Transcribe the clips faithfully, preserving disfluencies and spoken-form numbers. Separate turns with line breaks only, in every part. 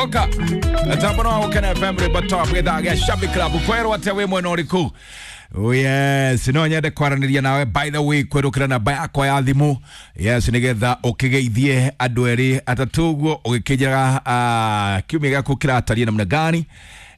Oka Tambo no Gũkena F M rwĩmbo top gĩthaa gĩa Shabby Club kwerwo atĩa wĩ mwena ũrĩkũ? Oh yes, no nyende kwaranĩria nawe by the way kwerũkĩra namba yakwa ya thimũ. Yes, nĩgetha ũkĩgeithie andũ erĩ atatũ ũguo ũgĩkĩnjĩraga uh, kiumia gĩaku kĩratariĩ namna gani.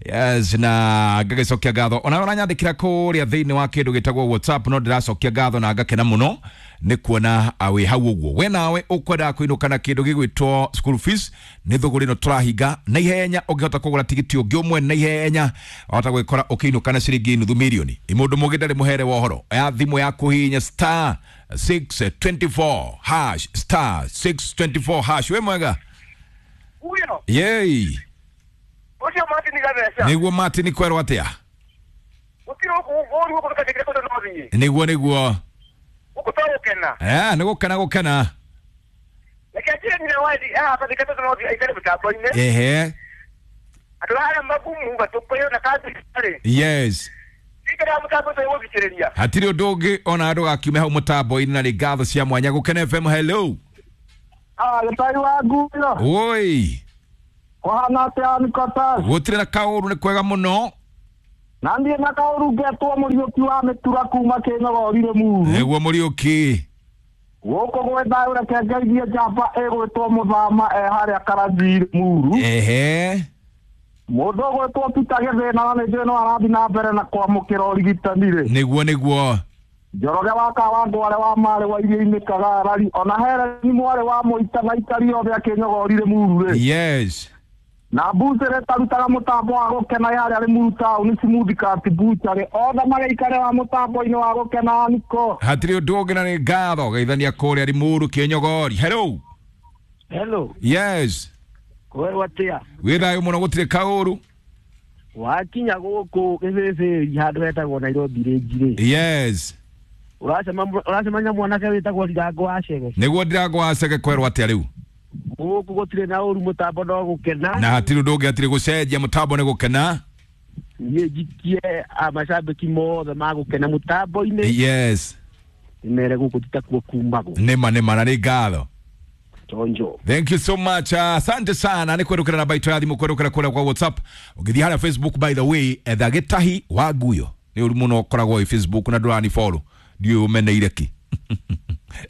Yes, na ngagĩcokia ngatho ona ũranyandĩkĩra kũrĩa thĩinĩ wa kĩndũ gĩtagwo WhatsApp no ndĩracokia ngatho na ngakena mũno nĩ kuona wĩ hau ũguo. We nawe ũkwendaga kũinũka na kĩndũ gĩgwĩtwo school fees nĩ thũgũrĩ ĩno tũrahinga na ihenya ũngĩhota kũgũra tigiti ũngĩ ũmwe na ihenya wahota gwĩkora ũkĩinũka na ciringi nuthu mirioni. Mũndũ mũgĩ ndarĩ mũhere wa ũhoro ya thimũ ya kũhihinya star six twenty-four hash star six twenty-four hash. Wĩ mwega?
Uyo.
Yei.
Ucio Martin Gatheca.
Niguo Martin kwerwo atia?
Gutiri ũru gũkũ tũkajĩkĩra kũndũ no thiĩ.
Niguo niguo.
Gũkũ to gũkena.
Eh, nĩ gũkena gũkena.
Reke njĩre nyina wa Eddie, haha bathika tondũ no thiĩ aikare mĩtambo-inĩ.
Ehe.
Andũ arĩa magumu gatũkũyũ na kanjũ-rĩ.
Yes.
Ikara mũtambo ũcio gũthikĩrĩria.
Hatirĩ ũndũ ũngĩ ona andũ gakiume hau mũtambo-inĩ na nĩ ngatho cia mwanya. Gũkena F M, hello.
Ah, gĩtari wa nguyo.
Oi.
Kũhana atĩa Nikotas?
Gũtirĩ na kaũru nĩ kwega mũno.
Na niĩ na kaũru ngetwo Mũriũki wa Mĩtura kuma Kĩnyogori Rĩmuru.
Nĩguo Mũriũki.
Gũkũ gwĩ thayũ reke ngeithie njamba ĩgwĩtwo Mũthama e harĩa Karanjii Rĩmuru.
Ehe.
Mũndũ ũgwĩtwo Peter Gĩthĩna na nĩ njũĩ no arathiĩ na mbere na kwamũkĩra ũrigitani rĩ.
Nĩguo nĩguo.
Njoroge wa Kawangware wa Marĩ wa Iria-inĩ Kagarari ona Hereni mwarĩ wa Mũita na aikari othe a Kĩnyogori Rĩmuru rĩ.
Yes.
Na mbucĩrĩ tarutaga mũtambo wa gũkena harĩa Rĩmuru taũni Smooth Cut Butchery othe magĩikare wa mũtambo-inĩ wa gũkena niko.
Hatirĩ ũndũ ũngĩ na nĩ ngatho geithania kũrĩa Rĩmuru Kĩnyogori. Hello.
Hello.
Yes.
Kwerwo atĩa?
Wĩ thayũ mũno gũtirĩ kaũru.
Wakinya gũkũ Gĩbĩbĩri handũ hetagwo Nairobi Range rĩ.
Yes.
Ũracemania mwanake wĩtagwo Ndirango wa Cege.
Nĩguo Ndirango wa Cege kwerwo atĩa rĩu?
Gũkũ gũtirĩ na ũru mũtambo no gũkena.
Na hatirĩ ũndũ ũngĩ hatirĩ gũcenjia mũtambo nĩ gũkena.
Niĩ njikie macambĩki mothe ma gũkena mũtambo-inĩ.
Yes.
Nĩmere gũkũ titakuo kumagwo.
Nĩma nĩma na nĩ ngatho.
Chonjo.
Thank you so much. Asante uh, sana. Ni kwerukira namba itũ ya thimũ kwerukira kũrĩa kwa WhatsApp. Ũngĩthiĩ harĩa Facebook by the way etha Gĩtahi wa Nguyo. Nĩ ũru mũno ũkoragwo wĩ Facebook na ndũrani follow. Ndiũĩ ũmeneire kĩ.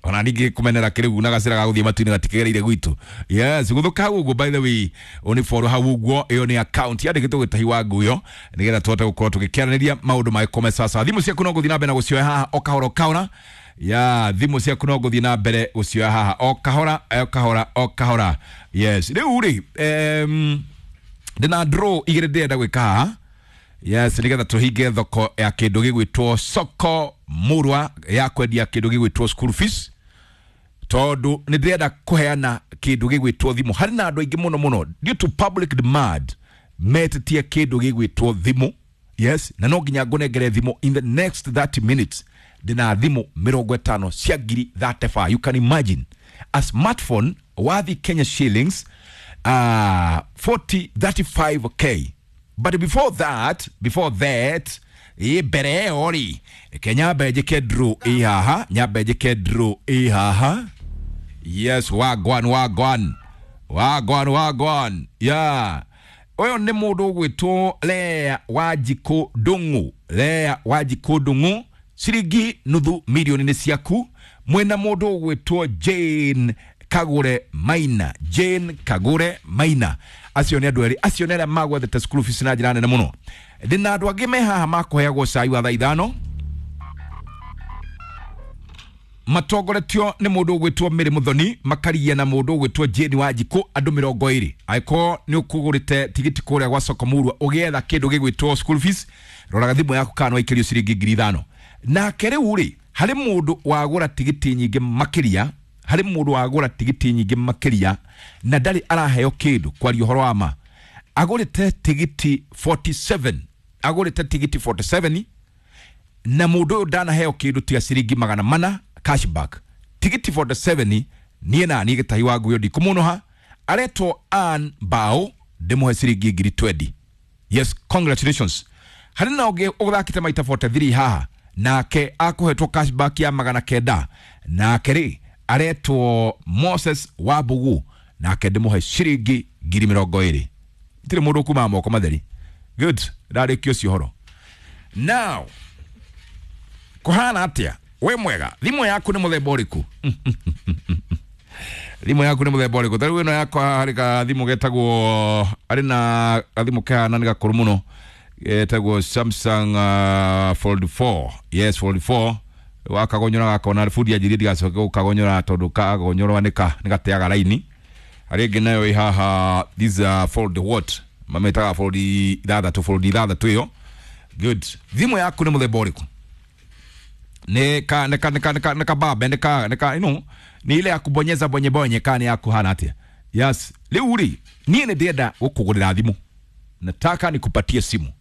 Ona ningĩ kũmenera kĩrĩu na gacĩra ga gũthiĩ matu-inĩ gatikegereire gwitũ. Yes, gũthũka hau ũguo by the way ũni follow hau ũguo ĩyo nĩ account yandĩkĩtwo Gĩtahi wa Nguyo nĩgetha tũhote gũkorwo tũgĩkĩaranĩria maũndũ magĩkome sasa. Thimũ ciaku no gũthiĩ na mbere na gũcioya haha o kahora o kahora. Ya thimũ ciaku no gũthiĩ na mbere gũcioya haha o kahora o kahora o kahora. Yes, rĩu rĩ em ndĩna draw igĩrĩ ndĩrenda gwĩka haha. Yes, nĩgetha tũhinge thoko ya kĩndũ gĩgwĩtwo soko murwa ya kwendia kĩndũ gĩgwĩtwo school fees tondũ nĩ ndĩrenda kũheana kĩndũ gĩgwĩtwo thimũ. Harĩ na andũ aingĩ mũno mũno due to public demand metĩtie kĩndũ gĩgwĩtwo thimũ. Yes, na no nginya ngũnengere thimũ in the next thirty minutes. Ndĩna thimũ mĩrongo ĩtano cia ngiri thirty-five. You can imagine a smartphone worth Kenya shillings uh, forty thirty-five K. But before that, before that, ĩ mbere ĩyo rĩ, reke nyambe njĩke draw ĩ haha, nyambe njĩke draw ĩ haha. Yes, wagwan wagwan. Wagwan wagwan. Yeah. Ũyũ nĩ mũndũ ũgwĩtwo Lea Wanjikũ Ndung'u. Lea Wanjikũ Ndung'u, ciringi nuthu milioni nĩ ciaku. Mwena mũndũ ũgwĩtwo Jane Kagure Maina. Jane Kagure Maina. Acio nĩ andũ erĩ, acio nĩ arĩa magwethete school fees na njĩra nene mũno. Ndĩna andũ angĩ me haha makũheagwo cai wa thaa ithano matongoretio nĩ mũndũ ũgwĩtwo Mary Muthoni makaria na mũndũ ũgwĩtwo Jane Wanjikũ andũ mĩrongo ĩrĩ. Angĩkorwo nĩ ũkũgũrĩte tigiti kũrĩa gwa soko murwa ũgĩetha kĩndũ gĩgwĩtwo school fees, roraga thimũ yaku kana waikĩrio ciringi ngiri ithano. Nake rĩu rĩ harĩ mũndũ wagũra tigiti nyingĩ makĩria, harĩ mũndũ wagũra tigiti nyingĩ makĩria na ndarĩ araheo kĩndũ kwaria ũhoro wa ma. Agũrĩte tigiti forty-seven, agũrĩte tigiti forty-seven na mũndũ ũyũ ndanaheo kĩndũ tiga ciringi magana mana cashback. Tigiti forty-seven niĩ na niĩ Gĩtahi wa Nguyo ndikũmũnũha, aretwo Ann Bao ndĩmũhe ciringi ngiri twenty. Yes, congratulations. Harĩ na ũngĩ ũthakĩte maita forty-three haha nake akũhetwo cashback ya magana kenda nake rĩ aretwo Moses Wambugu nake ndĩmũhe ciringi ngiri mĩrongo ĩrĩ. Tire mundu kuma moko matheri. Good. Ndarĩkia ũcio ũhoro. Now kuhana atia? We mwega, thimũ yaku nĩ mũthemba ũrĩkũ? Thimũ yaku nĩ mũthemba ũrĩkũ? Ta rĩu ĩno yakwa harĩ gathimũ getagwo, arĩ na gathimũ kahana nĩ gakũrũ mũno, getagwo Samsung uh, Fold four. Yes, Fold four. Wakagonyora gakona bundi anjirie ndigacoke gũkagonyora tondũ kagonyora nĩ gateaga raini. Harĩ ĩngĩ nayo ĩ haha, this uh, Fold what? Mametaga Fold ithathatũ, Fold ithathatũ ĩyo. Good. Thimũ yaku nĩ mũthemba ũrĩkũ? Nĩ ka nĩ ka nĩ ka nĩ ka nĩ kababe nĩ ka nĩ ka you know, nĩ ile ya kubonyeza bonye bonye ka nĩ yaku hana atia? Yes. Rĩu rĩ, niĩ nĩ ndĩrenda gũkũgũrĩra thimũ. Nataka nikupatie simu.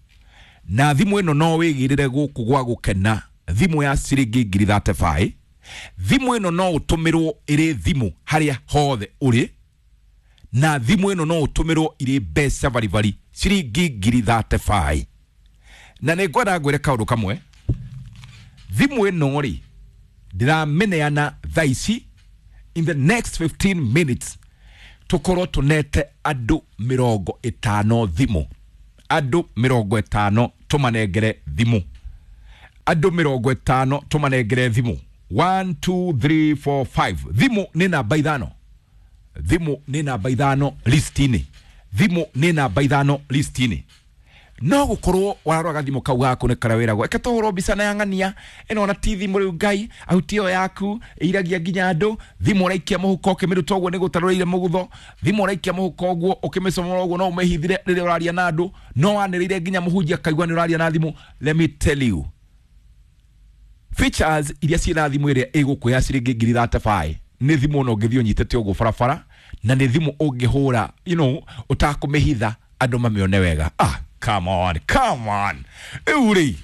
Na thimũ ĩno no wĩgĩrĩre gũkũ gwa gũkena, thimũ ya ciringi ngiri thirty-five. Thimũ ĩno no ũtũmĩrwo ĩrĩ thimũ harĩa hothe ũrĩ, na thimũ ĩno no ũtũmĩrwo ĩrĩ mbeca baribari ciringi ngiri thirty-five. Na nĩ ngwenda ngwĩre kaũndũ kamwe, thimũ ĩno rĩ ndĩramĩneana thaa ici, in the next fifteen minutes tũkorwo tũnete andũ mĩrongo ĩtano thimũ, andũ mĩrongo ĩtano tũmanengere thimũ, andũ mĩrongo ĩtano tũmanengere thimũ. One, two, three, four, five. Thimũ nĩ namba ithano, thimũ nĩ namba ithano list-inĩ, thimũ nĩ namba ithano list-inĩ. No gukorwo warora gathimũ kau gaku nĩ karĩa wĩragwo eke tũhũrwo mbica na yang'ania ĩno ona ti thimũ rĩu Ngai ahuti ĩyo yaku ĩiragia nginya andũ. Thimũ ũraikia mũhuko ũkĩmĩruta ũguo nĩ gũtarũrĩire mũgutho, thimũ ũraikia mũhuko ũguo ũkĩmĩcomora ũguo no ũmĩhithire rĩrĩa ũraria na andũ, no wanĩrĩire nginya mũhunjia akaigua nĩ ũraria na thimũ. Let me tell you, features iria ciĩna thimũ ĩrĩa ĩgũkũ ya ciringi ngiri thirty-five nĩ thimũ ona ũngĩthiĩ ũnyitĩte ũguo barabara, na nĩ thimũ ũngĩhũra you know ũtakũmĩhitha andũ mamĩone wega. Ah, come on, come on. Rĩu rĩ,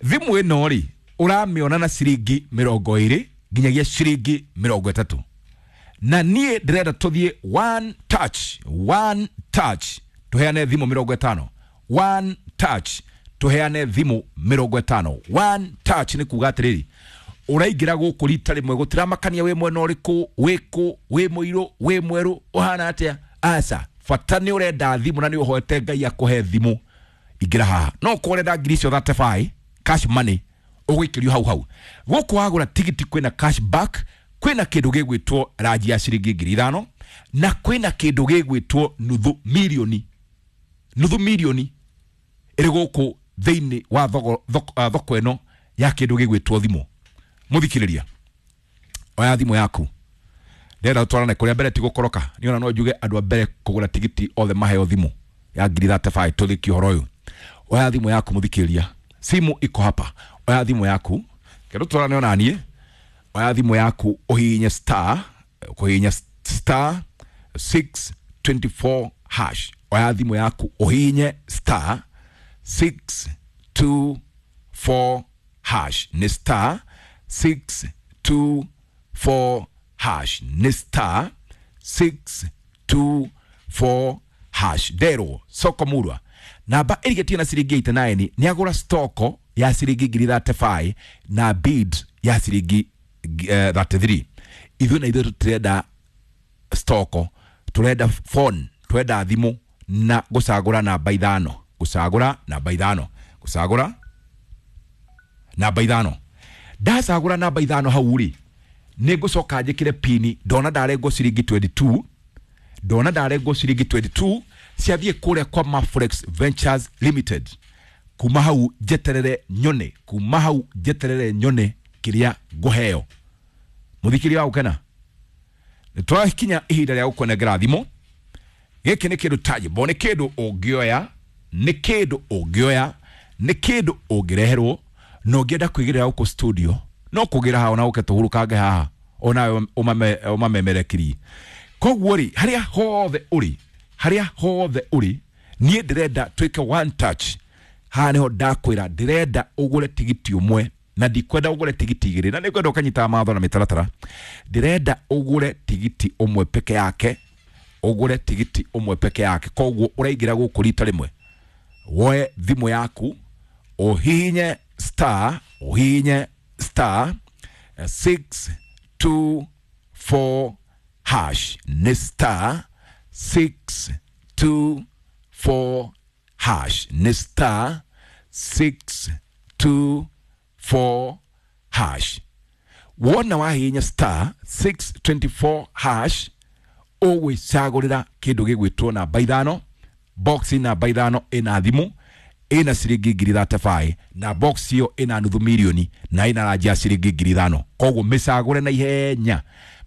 thimũ ĩno rĩ ũramĩona na ciringi mĩrongo ĩrĩ nginyagia ciringi mĩrongo ĩtatũ, na niĩ ndĩrenda tũthiĩ one touch, one touch tũheane thimũ mĩrongo ĩtano. One touch tũheane thimũ mĩrongo ĩtano. One touch nĩ kuga atĩrĩrĩ, ũraingĩra gũkũ rita rĩmwe gũtiramakania wĩ mwena ũrĩkũ, wĩkũ, wĩ mũirũ, wĩ mwerũ, ũhana atĩa, aca bata nĩ ũrenda thimũ na nĩ ũhoete Ngai akũhe thimũ, ingĩra haha. No korwo ũrenda ngiri icio thirty-five cash money ũgũikĩrio hau hau. Gũkũ wagũra tigiti kwĩna cash back, kwĩna kĩndũ gĩgwĩtwo ranji ya ciringi ngiri ithano, na kwĩna kĩndũ gĩgwĩtwo nuthu milioni, nuthu milioni ĩrĩ gũkũ thĩinĩ wa thoko, thoko, thoko ĩno ya kĩndũ gĩgwĩtwo thimũ. Mũthikĩrĩria, oya thimũ yaku, ndĩrenda tũtwarane kũrĩa mbere tigũkoroka, nĩ ona no njuge andũ a mbere kũgũra tigiti othe maheo thimũ ya ngiri thirty-five tũthĩkie ũhoro ũyũ. Oya thimũ yaku mũthikĩrĩria, simu iko hapa. Oya thimũ yaku, kendo tũtwarane ona niĩ. Oya thimũ yaku ũhihinye star, ũkũhihinya star six twenty-four hash. Oya thimũ yaku ũhihinye star six two four hash. Nĩ star six two four hash. Nĩ star six two four hash. Nderwo soko murwa namba ĩrigĩtie na ciringi eighty-nine nĩ agũra stoko ya ciringi ngiri thirty-five na bid ya ciringi uh, thirty-three. Ithuĩ na ithuĩ tũtirenda stoko, tũrenda phone, tũrenda thimũ na gũcagũra namba ithano, gũcagũra namba ithano, gũcagũra namba ithano. Ndacagũra namba ithano hau rĩ, nĩ ngũcoka njĩkĩre pini, ndona ndarengwo ciringi twenty-two, ndona ndarengwo ciringi twenty-two ciathiĩ kũrĩa kwa Maforex Ventures Limited. Kuma hau njeterere nyone, kuma hau njeterere nyone kĩrĩa ngũheo. Mũthikĩria wa gũkena, nĩ twakinya ihinda rĩa gũkũnengera thimũ. Gĩkĩ nĩ kĩndũ tangible, nĩ kĩndũ ũngĩoya, nĩ kĩndũ ũngĩoya, nĩ kĩndũ ũngĩreherwo, na ũngĩenda kwĩgĩrĩra gũkũ studio no kũgĩra haha ona ũke tũhurũkange haha onawe ũmamemerekirie. Koguo rĩ, harĩa hothe ũrĩ, harĩa hothe ũrĩ, niĩ ndĩrenda twĩke one touch. Haha nĩho ndakwĩra ndĩrenda ũgũre tigiti ũmwe, na ndikwenda ũgũre tigiti igĩrĩ, na nĩngwenda ũkanyitaga mawatho na mĩtaratara. Ndĩrenda ũgũre tigiti ũmwe peke yake, ũgũre tigiti ũmwe peke yake. Koguo ũraingĩra gũkũ rita rĩmwe, woe thimũ yaku, ũhihinye star, ũhihinye star six two four hash. Nĩ star six two four hash, nĩ star six two four hash. Wona wahihinya star six twenty four hash, ũgwĩcagũrĩra kĩndũ gĩgwĩtwo namba ithano, box namba ithano ĩna thimũ ĩna ciringi ngiri thate baĩ, na box ĩyo ĩna nuthu mirioni na ĩna ranji ya ciringi ngiri ithano. Koguo mĩcagũre na ihenya,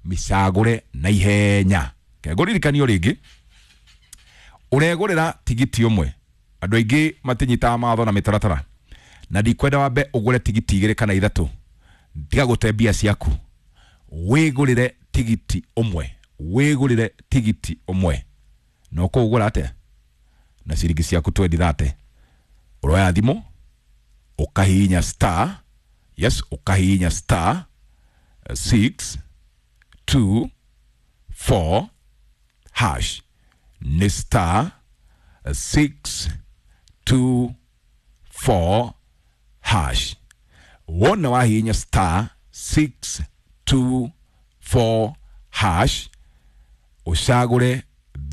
mĩcagũre na ihenya. Kengũririkanio rĩngĩ, ũregũrĩra tigiti ũmwe. Andũ aingĩ matinyitaga mawatho na mĩtaratara, na ndikwenda wambe ũgũre tigiti igĩrĩ kana ithatũ, tiga gũte mbia ciaku, wĩgũrĩre tigiti ũmwe, wĩgũrĩre tigiti ũmwe. Na ũkũũgũra atĩa? Na ciringi ciaku twendi thate. Ũroya thimũ ũkahihinya star, yes, ũkahihinya star six two four hash, nĩ star six two four hash. Wona wahihinya star six two four hash, ũcagũre